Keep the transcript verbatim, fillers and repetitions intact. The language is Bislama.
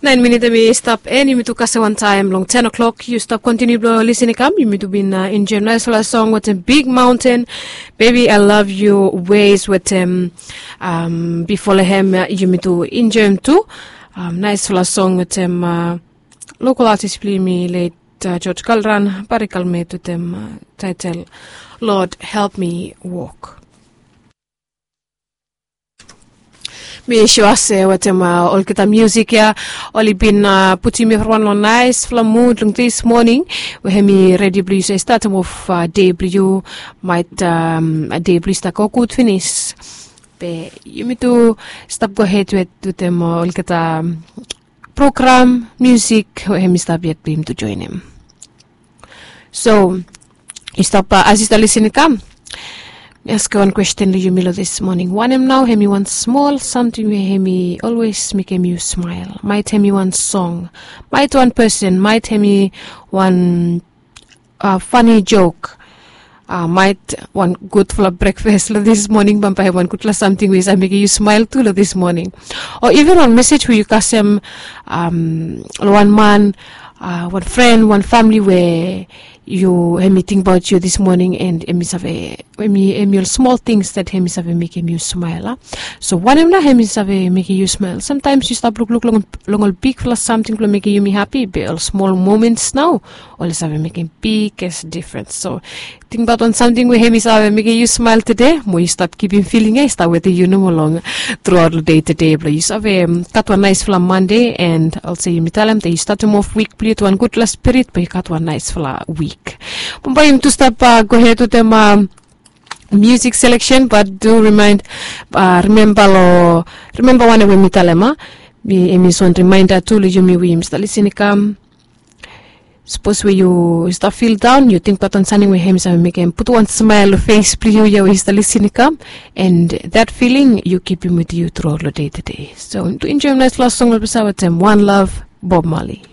Nain minit em i stap en, yumi tu kasem wantaem long ten o'clock. Yu stap kontiniu blong lisin i kam. Yumi tu bin enjoem naesfala song wetem Big Mountain, Baby I Love You Ways wetem, bifo long hem yumi tu enjoem tu naesfala song wetem lokal atis blong yumi, let George Kalran Barikalmet wetem taetel Lord Help Me Walk. Mi sua se wetem olgeta miusik ya oli bin putum evriwan long naesfala mud long dis moning, we hem i redi blong yu se statem of dei blong yu, maet dei blong yu stap go gud finis. Be yumi tu stap gohed wetem olgeta program miusik we hem i stap yet blong yumi tu joenem. So yu stap, as yu stap lisin i kam, mi askem wan kwesten long yumi long dis moning. Wanem nao hem i wan smol samting we hem i olwes mekem yu smael? Maet hem i wan song, maet wan pesen, maet hem i wan fani jok, maet wan gudfala brekfas long dis moning, bambae wan gudfala samting we i save mekem yu smael tu long dis moning. O iven wan mesej we yu kasem long wan man, wan fren, wan famili we yu, hem i tingbaot yu dis moning, and hem i save, hem i ol smol tings dat hem i save mekem yu smael a. So wanem nao hem i save mekem yu smael? Samtaems yu stap lukluk long ol bigfala samting blong mekem yumi hapi, be ol smol moments nao oli save mekem biges difrens. So tingbaot wan samting we hem i save mekem yu smael tede, mo yu stap kipim filing ya i stap wetem yu nomo long truaot long dei tede blong yu save gat wan naesfala Mande, and olsem yumi talem dat yu statem of wik blong yu wetem wan gudfala spirit, be yu gat wan naesfala wik. Bambae yumi tu stap gohed wetem miusik seleksen, bat tu rimaen, rimemba long, rimemba wanem we mi talem a, mi, hem i wan rimaenda tu long yumi we yumi stap lisin i kam. Sapos we yu stap fil daon, yu tingbaot wan samting we hem i save mekem putum wan smael long fes blong yu ya we yu stap lisin i kam, and dat filing yu kipim wetem yu truaot long dei tede. So tu enjoem naesfala song we oli bin save wetem One Love, Bob Marley.